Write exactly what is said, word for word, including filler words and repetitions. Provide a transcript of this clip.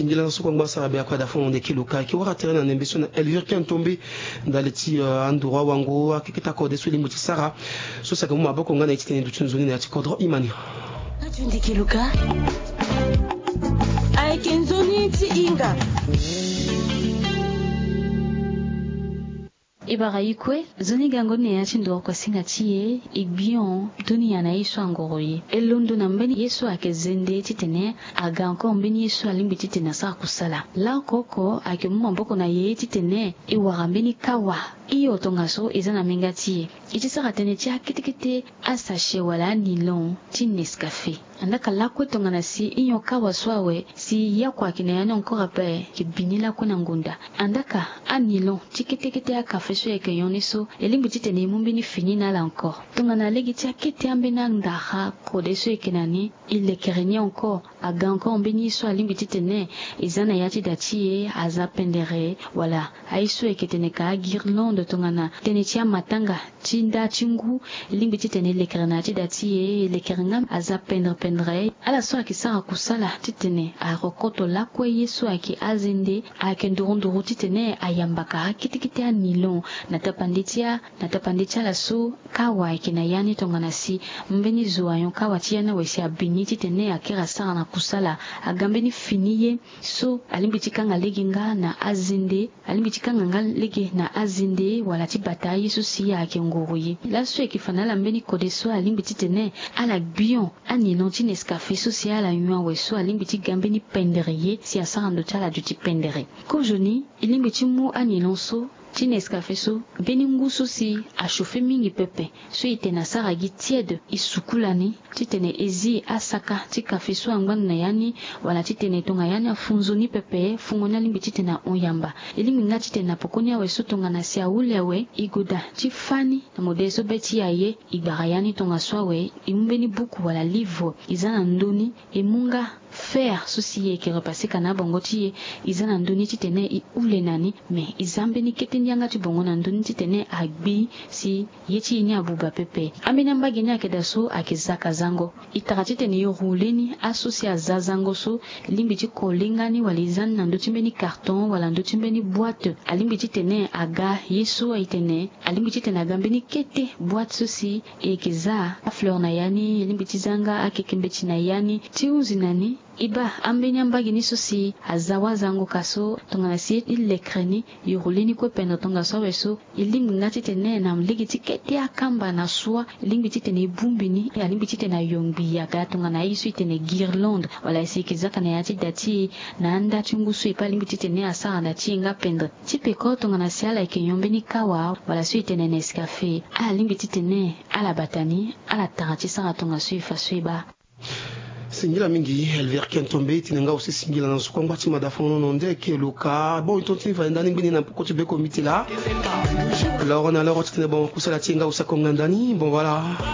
Singila na so kue angba sara be akua da fo na ndeke luka eke wara tere na nembe so na Elvire Kentombe. Ndali ti anduru awango akeketa kode so e lingbi ti sara so si ake mu maboko nga na ye ti tene duti nzoni na ya ti kodro imani. Ndeke luka. Ayeke nzoni ti hinga. E bara e kue nzoni gango ni na ya ti ndoro kuasinga ti e. E gbion toni ya na ye so angoro ye e londo na mbeni ye so ayeke zende titene aga encore mbeni ye so alingbi titene asara kusala. Laoko oko ayeke mu maboko na ye titene e wara mbeni kawa. Hio tongaso e za na menga ti e. E ti sara tënë ti akete kete asachet wala anilon ti Nescafé. Andaka lakue tongana si hio kawa so awe si yakua ayeke na ya ni encore ape. Ayeke bi ni lakue na ngonda. Andaka anilon ti kete kete akafe so e yeke nyon ni so e lingbi titene e mu mbeni fini na ala encore. Tongana lege ti akete ambeni andara kode so e yeke na ni e lekere ni encore. Aga encore mbeni ye so alingbi titene e za na ya ti da ti e aza pendere wala aye so e yeke tene ka aguirlande tongana tënë ti amatanga ti nda ti ngu. E lingbi titene e lekere na ya ti da ti e e lekere nga aza pendere pendere. Ala so ayeke sara kusala titene arokoto lakue ye so ayeke azende ayeke nduru nduru titene ayamba kara kete kete anilon na tapande ti a na tapande ti ala so kawa ayeke na ya ni tongana si mbeni zo ayon kawa ti ya ni awe si abi ni titene akiri asara na kusala. Aga mbeni fini ye so alingbi ti kanga lege nga na azende. Alingbi ti kanga nga lege na azende wala ti bata aye so si ayeke ngoro ye. Laso e yeke fa na ala mbeni kode so alingbi titene ala gbion anilon ti Nescafé so si ala nyon awe so alingbi ti ga mbeni pendere ye si asara ndo ti ala duti pendere. Kozoni e lingbi ti mu anilon so ti Nescafé so mbeni ngu so si achauffe mingi pepe so e tene asara gi tiede e sukula ni titene e zi asaka ti kafe so angba ndo na ya ni wala titene tonga ya ni afu nzoni pepe fungo ni alingbi titene ahon yamba. E lingbi nga titene na pokoni awe so tongana si ahule awe e goda ti fâ ni na modele so be ti e aye. E gbara ya ni tongaso awe e mu mbeni buku wala livre e za na ndö ni e mu nga fer so si e yeke repasser ka na abongo ti e. E za na ndö ni titene e hule na ni. Me e za mbeni kete ni yanga ti bongo na ndö ni titene agbi si ye ti e ni abuba pepe. Ambeni ambage ni ayeke daa so ayeke zaka zango. E tara titene e roule ni aso si aza zango so e lingbi ti kole nga ni wala e za ni na ndö ti mbeni carton wala ndö ti mbeni boîte. Alingbi titene aga ye so e tene alingbi titene aga mbeni kete boîte so si e yeke za afleur na ya ni e lingbi ti za nga akeke mbeti na ya ni ti hunzi na ni. E baa ambeni ambage ni so si aza wazango ka so tongana si e lekere ni e roule ni kue pendere tongaso awe so e lingbi nga titene na lege ti kete akamba na soi e lingbi titene e bongbi ni. Alingbi titene ayongbi aga tongana aye so e tene guirlande wala si e yeke zaka na ya ti da ti e na anda ti ngu so e pe alingbi titene asara da ti e nga pendere. Ti peko tongana si ala yeke nyon mbeni kawa wala so e tene Nescafé ala lingbi titene ala bata ni ala tara ti sara tongaso e fa so e baa. Singila mingi Elvire Kentombe. E tene nga aussi singila na so kue angba ti mada fo na nde eke luka. Bon e tonti ni fa e nda ni ngbeni na poko ti beko miti laa. Loro na loro ti tene bon kusala ti e nga aussi akonga nda ni bon voilà.